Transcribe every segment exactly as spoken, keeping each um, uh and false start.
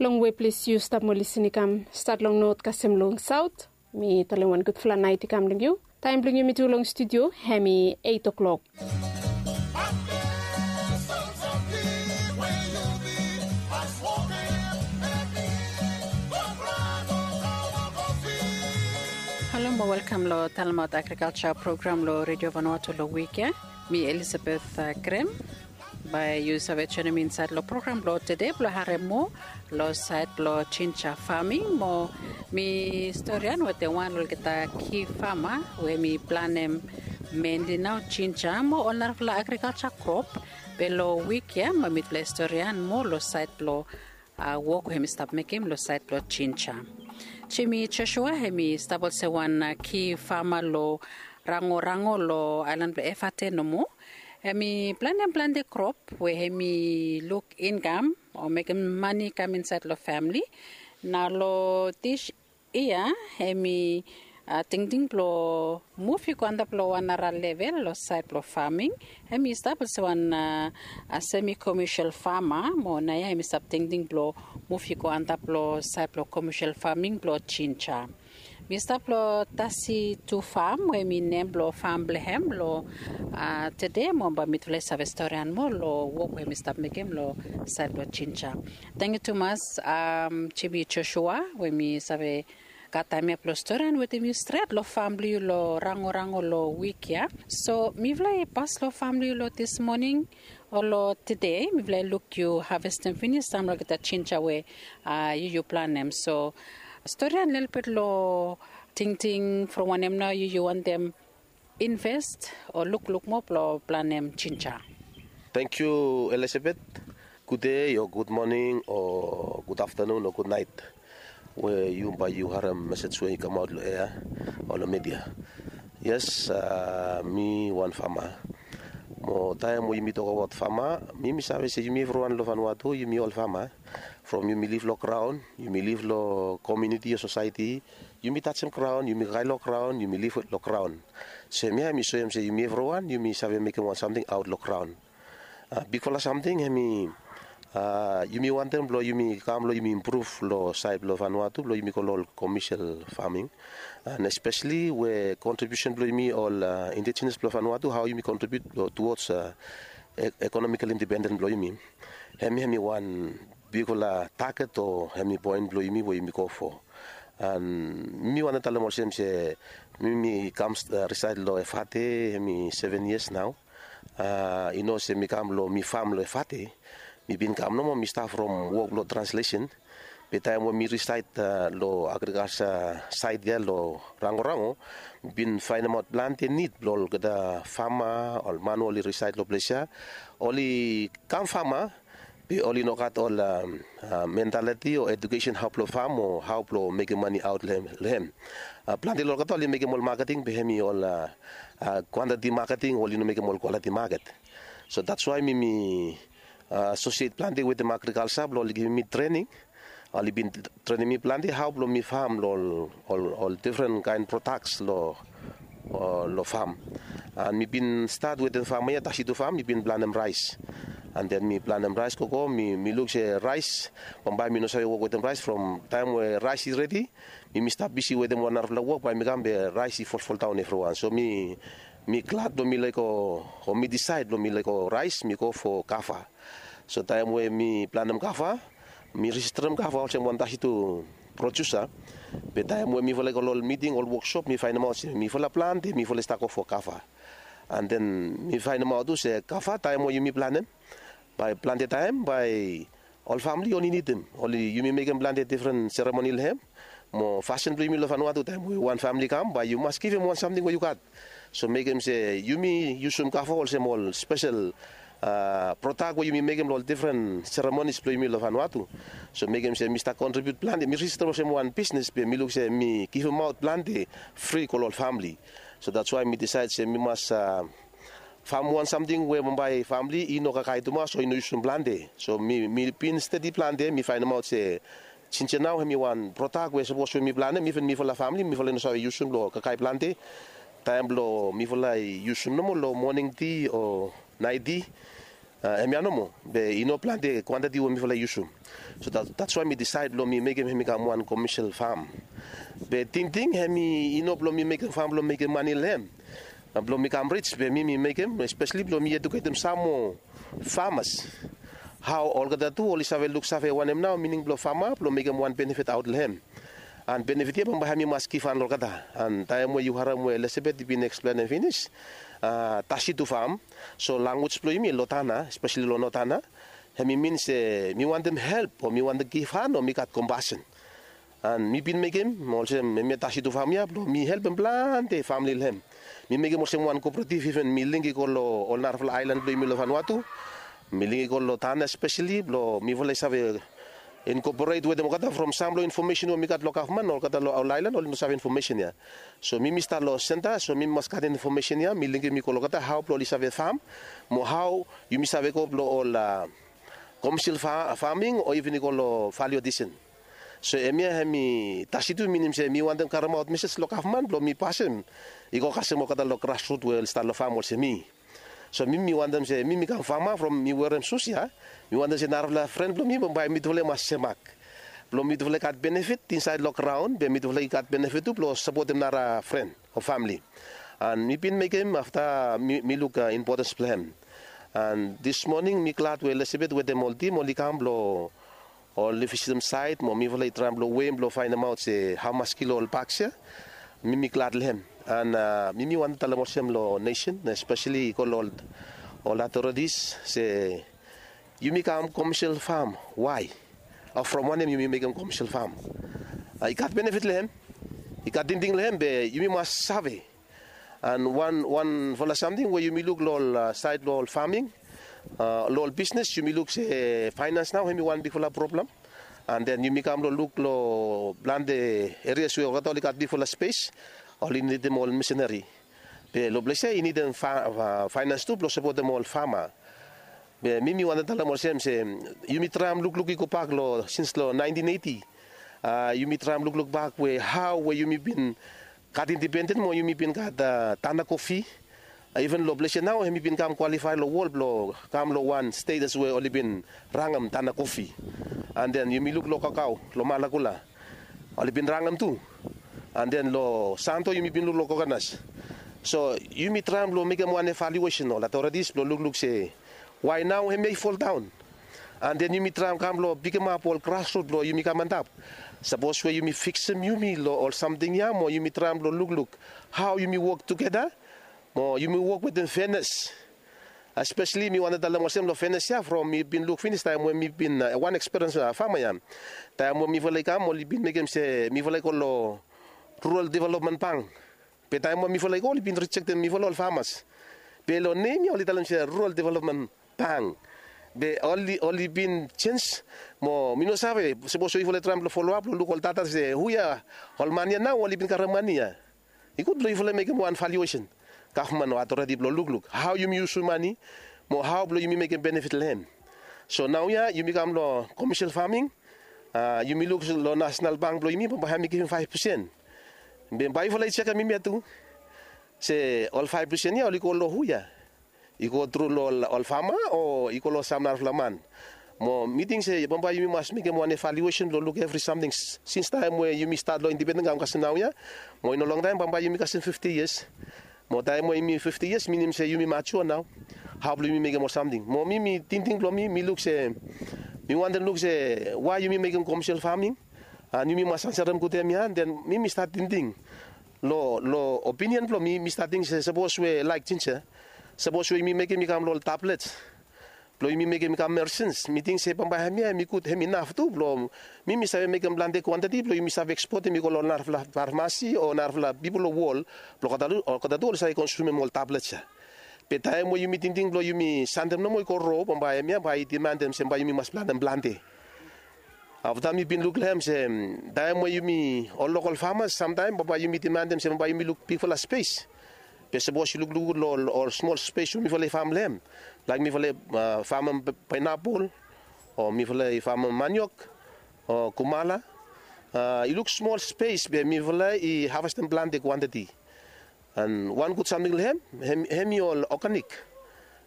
Long we ples yu stap mo lisin i kam, stat long not kasem long saut, mi talem wan gudfala nait i kam long yu. Taem blong yumi tu long studio hem i eit o'klok. Halo mo welkam long talemaot agrikalsa program long Redio Vanuatu long wik ya. Mi Elisabeth Grem. Bae yu save joinim mi insaed long program blong tede blong harem moa long saed blong jinja faming mo mi storian wetem wan long olgeta ki fama we mi planem menli nao jinja mo ol narafala agrikalsa krop. Be long wik ya mo mitufala i storian moa long saed blong wok we hem i stap mekem long saed blong jinja. Jimi Josua hem i stap olsem wan ki fama long Rangorango long aelan blong Efate nomo. Hem i planem plante krop we hem i luk inkam o mekem mane i kam insaed long famle. Nao long dis yia hem i tingting blong muv i go antap long wan nara level long saed blong faming. Hem i stap olsem wan semi komesel fama mo naoia hem i stap tingting blong muv i go antap long saed blong komesel faming blong jinja. Mi stap long tasi tu fam we mi nem blong fam blong hem long tede mo bae mitufala i save storian moa long wok we mi stap mekem long saed blong jinja. Tangkiu tumas, jimi Josua we mi save gat taem ya blong storian wetem yu stret long fam blong yu long Rangorango long wik ya. So mifala i pas long fam blong yu long dis moning o long tede mifala i luk yu havestem finis sam long olgeta jinja we yu yu planem. So storian lelebet long tingting from wanem nao yu yu wantem invest o lukluk moa blong planem jinja. Tangkiu Elisabeth. Gudei o gudmoning o gudaftanun o gudnaet we yu bae yu harem mesej we i kamaot long ea o long midia. Yes, mi wan fama. Mo taem we yumi tokabaot fama, mi mi save se yumi evriwan long Vanuatu yumi ol fama. From yumi liv long graon, yumi liv long komuniti o sosaeti, yumi tajem graon, yumi kakae long graon, yumi liv long graon. So hemia hem i soem se yumi evriwan yumi save mekem wan samting aot long graon. Bigfala samting hem i yumi wantem blong yumi kam long yumi impruv long saed blong Vanuatu blong yumi go long ol komesel faming. And espeseli we kontribiusen blong yumi ol indijenas blong Vanuatu hao yumi kontribiut tuods ekonomikel indipenden blong yumi. Hemia hem i wan bigfala taget o hem i poen blong yumi we yumi go fo. And mi wantem talem olsem se mi mi kam risaed long Efate hem i seven yias nao. I no se mi kam long mi fam long Efate. Mi bin kam nomo mi stap from wok blong translesen. Be taem we mi risaed long agrikalsa saed ya long Rangorango, mi bin faenemaot plante nid blong olgeta fama ol man we oli risaed long ples ya. Oli kam fama be oli no gat ol mentaliti o edukesen hao blong fam o hao blong mekem mane aot long hem. Plante long olgeta oli mekem ol maketing be hem i ol kwantiti maketing, oli no mekem ol kwaliti maket. So dats wae mi mi asosiet plante wetem agrikalsa blong oli givim mi trening. Oli bin trenem mi plante hao blong mi fam long ol difren kaen prodaks long fam. And mi bin stat wetem fama ya tasi tu fam mi bin planem raes. And den mi planem raes gogo mi luk se raes bambae mi no save wok wetem raes from taem we raes i redi, mi mi stap bisi wetem wan narafala wok bae mi kam be raes i folfoldaon evriwan. So mi mi glad blong mi lego o mi disaed blong mi lego raes mi go fo kava. So taem we mi planem kava, mi rejisterem kava olsem wan tasi tu produsa. Be taem we mifala i go long ol miting ol woksop mi faenemaot se mifala plante mifala i stap go fo kava. And den mi faenemaot tu se kava taem we yumi planem bae plante taem bae ol famle oli nidim oli yumi mekem plante difren seremoni long hem. Mo fasin blong yumi long Vanuatu taem we wan famle i kam bae yu mas givim wan samting we yu gat. So mekem se yumi yusum kava olsem ol spesel prodak we yumi mekem long ol difren seremonis blong yumi long Vanuatu. So mekem se mi stap kontribiut plante mi rejista olsem wan bisnes be mi luk se mi givimaot plante fri go long ol famle. So dats wae mi disaed se mi mas fam wan samting we bambae famle i no kakae tumas o i no yusum plante. So mi mi bin stadi plante mi faenemaot se jinja nao hem i wan prodak we sapos we mi planem iven mifala famle mifala i no save yusum long kakae plante. Taem blong mifala i yusum nomo long moning ti o naet ti. Hemia nomo, be i no plante kwantiti we mifala i yusum. So that's why mi disaed blong mi mekem hem i kam wan komesel fam. Be tingting hem i no blong mi mekem fam blong mekem mane long hem, blong mi kam rij, be mi mi mekem espeseli blong mi ejuketem sam moa famas, hao olgeta tu oli save luksave wanem nao mining blong fama blong mekem wan benefit aot long hem. An benefit ya bambae hem i mas givhan long olgeta. An taem we yu harem we Elizabeth i bin eksplenem finis, tasitu fam, so lanwis blong yumi long Tanna, espeseli long North Tanna, hem i min se mi wantem help o mi wantem givhan o mi gat kompasen. An mi bin mekem olsem hemia tasitu fam ya blong mi helpem plante famle long hem. Mi mekem olsem wan kooperativ, iven mi link i go long ol narafala aelan blong yumi long Vanuatu. Mi link i go long Tanna espeseli blong mifala i save inkoporet wetem olgeta from sam long infomesen we mi gat long gavman, olgeta long ol aelan oli no save infomesen ya. So mi mi stat long senta, so mi mi mas gat infomesen ya, mi linkem i go long olgeta hao blong oli save fam, mo hao yumi save go blong ol komesel faming o iven i go long valio adisen. So hemia hem i tasitu, minim se mi wantem karemaot mesej long gavman blong mi pasem i go kasem olgeta long grasrut we oli stat long fam olsem mi. So mi mi wantem se mi mi kam fama from mi werem sus ya, mi wantem se narafala fren blong mi bambae mitufala i mas semak, blong mitufala i gat benefit insaed long graon, be mitufala i gat benefit tu blong sapotem nara fren o famle. An mi bin mekem afta mi luk impotens blong hem. An dismoning mi glad we Elizabeth wetem ol tim oli kam blong oli visitem saet mo mifala i traem blong weim blong faenemaot se hamas kilo ol baks ya. Mi mi glad long hem. An mi mi wantem talem olsem long nesen, espeseli i go long ol otoritis se yumi kam komesel fam, wae? O from wanem yumi mekem komesel fam? I gat benefit long hem, i gat tingting long hem, be yumi mas save. An wan wanfala samting we yumi luk long ol saed blong ol faming, long ol bisnes, yumi luk se faenans nao hem i wan bigfala problem. An den yumi kam long luk long plante erias we olgeta oli gat bigfala spes, oli nidim ol misinari. Be long ples ya i nidim faenans tu blong sapotem ol fama. Be mi mi wantem talem olsem se yumi traem lukluk i gobak long sins long naentin eiti. Yumi traem lukluk bak we hao we yumi bin gat indipenden mo yumi bin gat Tanna Kofi. Iven long ples ya nao hem i bin kam kwalifae long wol blong kam long wan stetas we oli bin rangem Tanna Kofi. An den yumi luk long kakao long Malakula, oli bin rangem tu. An den long Santo yumi bin luk long kokanas. So yumi traem blong mekem wan evaluesen, ol otoritis blong lukluk se wae nao hemia i foldaon. An den yumi traem kam blong pikimap ol grasrut blong yumi kam antap. Sapos we yumi fiksim yumi long ol samting ya mo yumi traem blong lukluk hao yumi wok tugeta mo yumi wok wetem fenes. Espeseli mi wantem talem olsem long fenes ya from mi bin luk finis taem we mi bin wan ekspiriens fama ya. Taem we mifala i kam oli bin mekem se mifala i go long rural developmen bank. Be taem we mifala i go oli bin rijektem mifala ol famas. Be long nem ya oli talem se rural developmen bank. Be oli bin jenj, mo mi no save sapos we yufala i traem blong foloap long luk ol data se hu ya ol man ya nao oli bin karem mane ya. I gud blong yufala i mekem wan valuesen, gavman o otoriti blong lukluk hao yumi yusum mane mo hao blong yumi mekem benefit long hem. So naoia yumi kam long komesel faming. Yumi luk long nasenal bank blong yumi bambae hem i givim faef pesen. Be bae yufala i jekem hemia tu, se ol faef pesen ya oli go long hu ya? I go tru long ol fama o i go long sam narafala man? Mo mi ting se bambae yumi mas mekem wan evaluesen blong luk evri samting sinstaem we yumi stat long indipenden kam kasem naoia. Mo i no longtaem bambae yumi kasem fifti yias. Mo taem we yumi fifti yias minim se yumi majua nao. Hao blong yumi mekem ol samting? Mo mi mi tingting blong mi mi luk se, mi wantem luk se wae yumi mekem komesel faming. An yumi mas ansarem gud hemia. Den mi mi stat tingting long opinion blong mi, mi stat ting se sapos we laek jinja, sapos we yumi mekem i kam long ol tablets blong yumi mekem i kam meresens, mi ting se bambae hemia hem i gud, hem inaf tu blong mi mi save mekem plante kwantiti blong yumi save ekspotem i go long ol narafala farmasi o narafala pipol long wol blong olgeta tu oli save konsumem ol tablets ya. Be taem we yumi tingting blong yumi santem nomo i go ro bambae hemia bae i dimandem se bae yumi mas plantem plante. Afta mi bin luk long hem se taem we yumi ol lokol famas samtaem bambae yumi dimandem se bambae yumi luk bigfala spes. Be sapos yu lukluk gud long ol smol spes we mifala i fam long hem, laek mifala i famem paenapol o mifala i famem maniok o kumala, i luk smol spes be mifala i havestem plante kwantiti. An wan gud samting long hem, hem i ol oganik.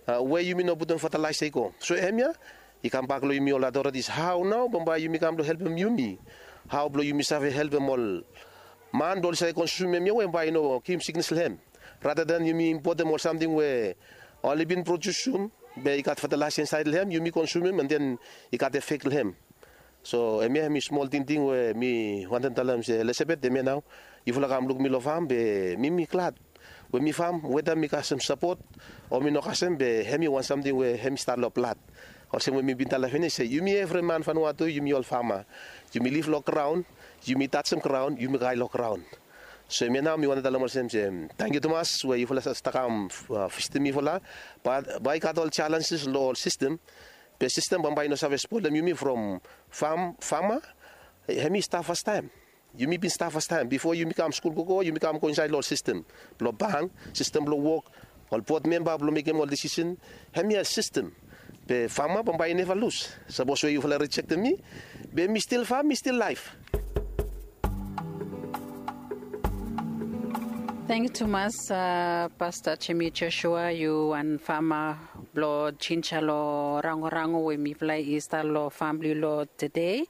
we yumi no putum fatalaesa i go. So hemia i kambak long yumi ol aotoretis, hao nao bambae yumi kam blong helpem yumi, hao blong yumi save helpem ol man blong oli save konsumem hemia we bae i no givim siknes long hem. Rata den yumi impotem ol samting we oli bin produsum be i gat fatalaesa insaed long hem, yumi konsumem an den i gat efek long hem. So hemia hemi smol tingting we mi wantem talem se Elizabeth, hemia nao yufala kam luk mi long fam be mi mi glad we mi fam, weta mi kasem sapot o mi no kasem, be hemi wan samting we hemi stat long blad. Olsem we mi bin talem finis se yumi evri man Vanuatu yumi ol fama. Yumi lif long graon, yumi tajem graon, yumi kae long graon. So hemia nao mi wantem talem olsem se tangkiu tumas we yufala save kam visitim mifala. Bat bae i gat ol jalenjes long ol sistem, be sistem bambae i no save spolem yumi from fam fama. Hemi stap fastaem. Yumi bin stap fastaem bifo yumi kam skul gogo, yumi kam go insaed long ol sistem blong bank, sistem blong wok, ol bod memba blong mekem ol disisen. Hemia sistem. Be fama bambae i neva lus. Sapos we yufala rijektem mi, be mi stil fam, mi stil laef. Tangkiu tumas, pasta Jemi Josua, yu wan fama blong jinja long rangorango we mifala i stap long fam blong yu long tede.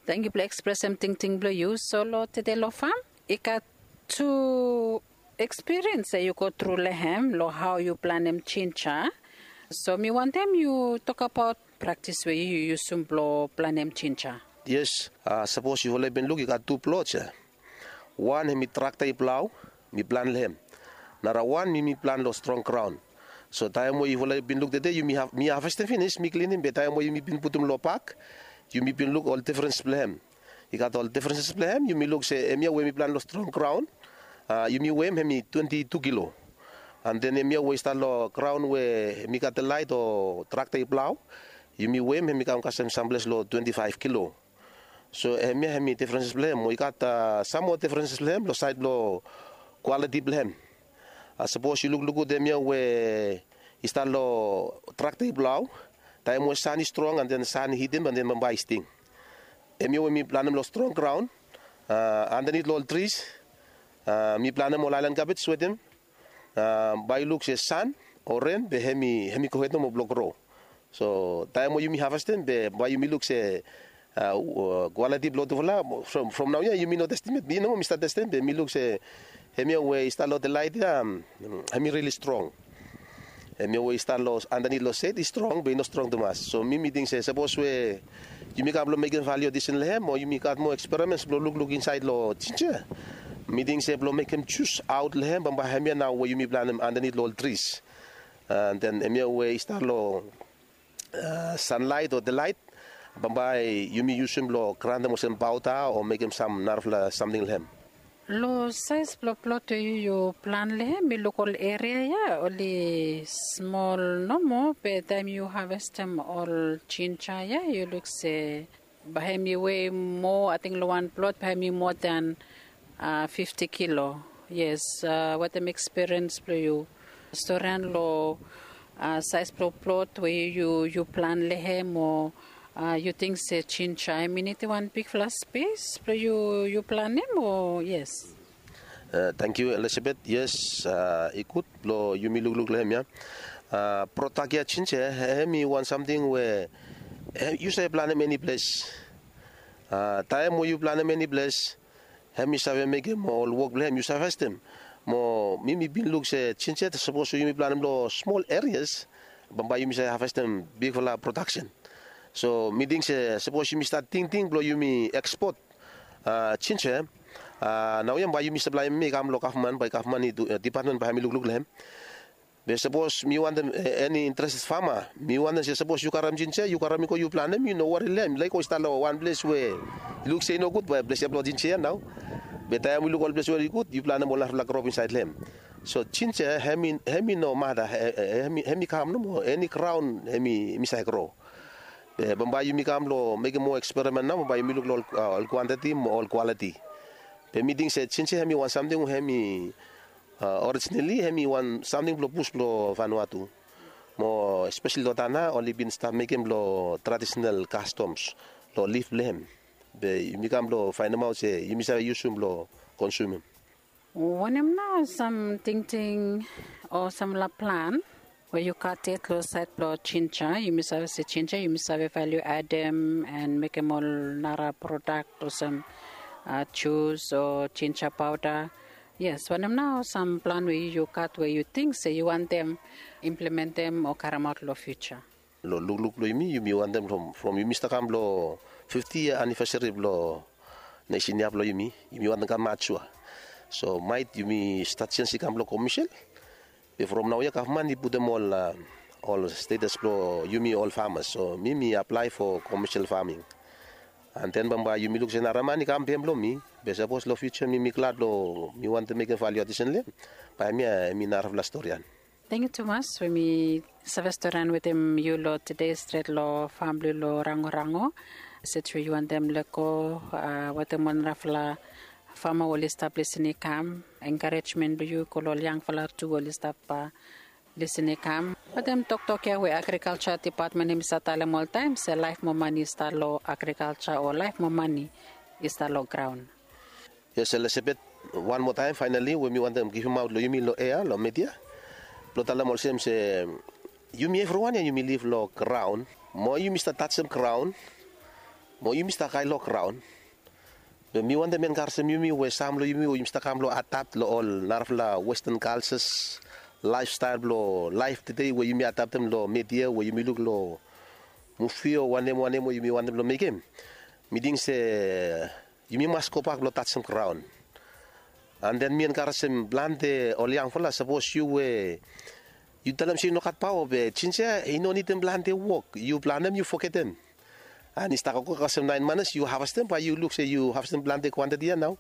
Tangkiu blong ekspresem tingting blong yu. So long tede long fam i gat tu ekspiriens we yu go tru long hem long hao yu planem jinja. So mi wantem yu tokabaot praktis we yu yusum blong planem jinja. Yes, sapos yufala i bin luk i gat tu plot ya. Wan hemi trakta i plau, mi plan long hem. Nara wan mi mi plan long strong graon. So taem we yufala i bin luk tede yumi havestem finis mi klinim, be taem we yumi bin putum long bak yumi bin luk ol difrens blong hem. I gat ol difrenses blong hem, yumi luk se hemia we mi plan long strong graon, yumi wem hemi twenti tu kilo. An den hemia we i stat long graon we hemi gat delaet o trakta i plau, yumi wem hemi kam kasem samples long twenti faef kilo. So hemia hemi difrenses blong hem. Mo i gat sam moa difrenses blong hem long saed blong kwaliti blong hem. Sapos yu lukluk gud hemia we i stat long trakta i plau, taem we san i strong an den san i hitim an den bambae i sting. Hemia we mi planem long strong graon, andanit long ol tris, mi planem ol aelan kabej wetem. Bae yu luk se san o ren be hemi gohed nomo blong gro. So taem we yumi havestem be bae yumi luk se kwaliti blong tufala. From naoia yumi no testem yet, mi nomo mi stat testem be mi luk se hemia we i stat long delaet ya, hemi rili strong. Hemia we i stat long andanit long sed i strong be i no strong tumas. So mi mi ting se sapos we yumi kam blong mekem valio disen long hem o yumi gat moa eksperimens blong lukluk insaed long jinja, mi ting se blong mekem jus aot long hem bambae hemia nao we yumi planem andanit long ol tris. An den hemia we i stat long sanlaet o delaet, bambae yumi yusum blong grantem olsem paoda o mekem sam narafala samting long hem. Long saes blong plot we yu yu plan long hem mi luk ol eria ya oli smol nomo, be taem yu havestem ol jinja ya yu luk se bae hemi wei moa, ating long wan plot bae hemi moa dan fifti kilo. Yes, wetem ekspiriens blong yu, storian long saes blong plot we yu yu plan long hem o yu ting se jinja hemi nidim wan bigfala spes blong yu yu planem o? Yes. Tangkiu Elizabeth. Yes, i gud blong yumi lukluk long hem ya. Prodak ya jinja hemi wan samting we yu save planem eni ples. Taem we yu planem eni ples, hemi save mekem ol wok blong hem yu save havestem. Mo mi mi bin luk se jinja sapos we yumi planem long smol erias, bambae yumi save havestem bigfala prodaksen. So mi ting se sapos yumi stat tingting blong yumi ekspot jinja, naoia bae yumi saplaem hem i kam long gavman, bae gavman i dipatmen bae hemi lukluk long hem. Be sapos mi wantem eni interested fama, mi wantem se sapos yu karem jinja yu karem i go yu planem, yu no wari long hem, yu laek go i stap long wan ples we yu luk se i nogud, bae ples ya blong jinja ya nao. Be taem yu luk ol ples we i gud yu planem ol narafala krop insaed long hem. So jinja hem i no mata, hem i kam nomo, eni graon hem i save gro. Be bambae yumi kam long mekem moa eksperimen nao, bambae yumi luk long ol kwantiti mo ol kwaliti. Be mi ting se jinja hem i wan samting we hem i orijinali hem i wan samting blong bus blong Vanuatu. Mo espesali long tana oli bin stap mekem long tradisenal kastoms long lif blong hem. Be yumi kam blong faenemaot se yumi save yusum blong konsumim. Wanem nao sam tingting o samfala plan We yu gat yet long sait blong jinja, yumi save se jinja yumi save valiu adem and mekem ol nara prodak olsem jus o jinja pauda. Yes, wanem nao sam plan we yu gat we yu ting se yu wantem implementem o karemaot long fiuja? Long lukluk blong yumi, yumi wantem from yumi stap kam long fifti yia anivesari blong nesen ya blong yumi, yumi wantem kam matua. So mait yumi stat sens i kam long komisil. Be from naoia gavman i putum ol status blong yumi ol famas, so mi mi aplae fo komisil faming. An ten bambae yumi luk se nara man i kam pem long mi. Be sapos long fiuja mi mi glad long mi wantem mekem valiu adisen long em. Bae em ya em i narafala storian. Tengkiu tumas we mi save storian wetem yu long tede stret long fam blong yu long rangorango. Set we yu wantem lego wetem wan narafala fama we oli stap lisin i kam, enkarejmen blong yu go long ol yangfala tu we oli stap lisin i kam. Wetem toktok ya we agrikalja dipatmen hem i save talem oltaem se laef moa mani i stap long agrikalja o laef moa mani i stap long graon. Yes, Elisabet, wan moa taem faenali we mi wantem givimaot long yumi long ea long media blong talem olsem se yumi evriwan ya yumi liv long graon. Moa yumi stap tajem graon, moa yumi stap kae long graon. Be mi wantem enkarejem yumi we sam long yumi we yumi stap kam long adapt long ol narafala westan kaljas, laefstael blong laef tede we yumi adaptem long media we yumi luk long muvi o wanem wanem we yumi wantem blong mekem. Mi ting se yumi mas gobak blong tajem graon. An ten mi enkarejem plante ol yangfala, sapos yu we yu talem se yu no gat paoa be jinja i no nidim plante wok, yu planem yu fogetem. An i stap gogo kasem naen manas yu havestem bae yu luk se yu havestem plante kwantiti ya nao.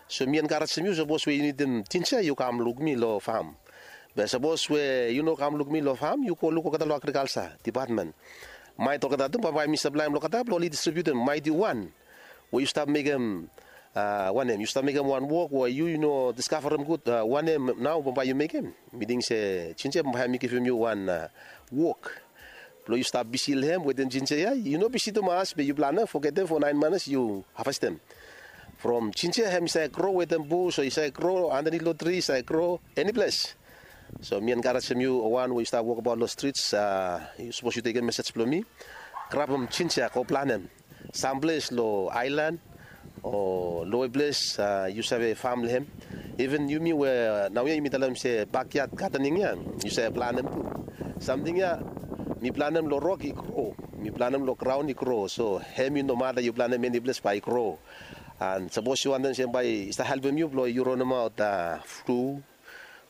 So mi enkarejem yu, sapos we yu nidim jinja yu kam luk mi long fam. Be sapos we yu no kam luk mi long fam yu go luk olgeta long agrikalja dipatmen. Maet olgeta tu bambae mi saplaem long olgeta blong oli distribiutem maet yu wan we yu stap mekem wanem yu stap mekem wan wok we yu i no diskavarem gud wanem nao bambae yu mekem. Mi ting se jinja bambae hem i givim yu wan wok blong yu stap bisi long hem wetem jinja ya. Yu no bisi tumas be yu planem fogetem fo naen manas yu havestem. From jinja hem i save gro wetem bus o i save gro andanit long tri, i save gro eni ples. So mi enkarejem yu wan we yu stap wokbaot long strits, sapos yu tekem mesej blong mi, grabem jinja go planem samples long aelan o lowe ples yu save fam long hem. Iven yumi we naoia yumi talem se bakyad gadening ya, yu save planem tu. Samting ya mi planem long rok i gro, mi planem long graon i gro, so hem i nomata yu planem eni ples bae i gro. An sapos yu wantem se bae i stap helpem yu blong yu ronemaot flu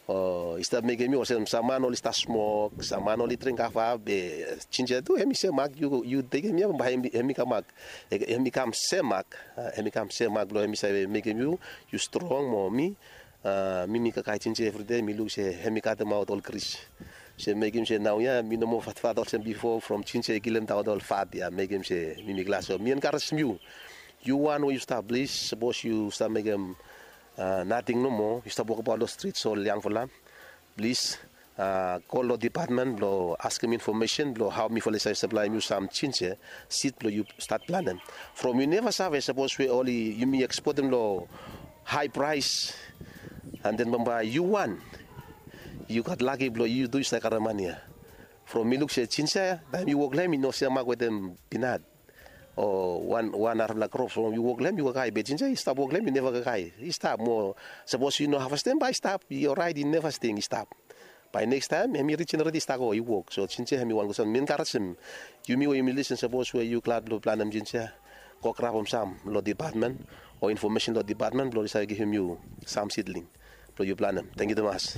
o i stap mekem yu olsem sam man oli stap smok, sam man oli dring kava, be jinja tu hem i semak, yu tekem ya bae hem i kamak, hem i kam semak. Hem i kam semak blong hem i save mekem yu yu strong mo mi. Mi mi kakae jinja evridei mi luk se hem i katemaot ol gris, se mekem se naoia mi no moa fatfat olsem bifo from jinja i kilemdaot ol fat ya mekem se mi mi glas. So mi enkarejem yu, yu wan we yu stap plis, sapos yu stap mekem nating nomo, yu stap wokbaot long strits ol yangfala, plis go long dipatmen blong askem infomesen blong hao mifala i save saplaem yu sam jinja sid blong yu stat planem. From yu neva save sapos we oli yumi ekspotem long hae praes, an ten bambae yu wan yu gat laki blong yu tu yu save karem mani ya. From mi luk se jinja ya taem yu wok long hem i no semak wetem pinat o wan narafala krop from yu wok long hem yu kakae, be jinja i stap wok long hem i neva kakae, i stap mo. Sapos yu no havestem bae i stap, i oraet, i neva sting, i stap. Bae nekstaem hem i rijenereti i stap go i wok. So jinja hem i wan gud sam. Mi enkarejem yumi we yumi lisin, sapos we yu glad blong planem jinja, go grabem sam long dipatmen o infomesen long dipatmen blong oli save givim yu sam sidling blong yu planem. Tangkiu tumas.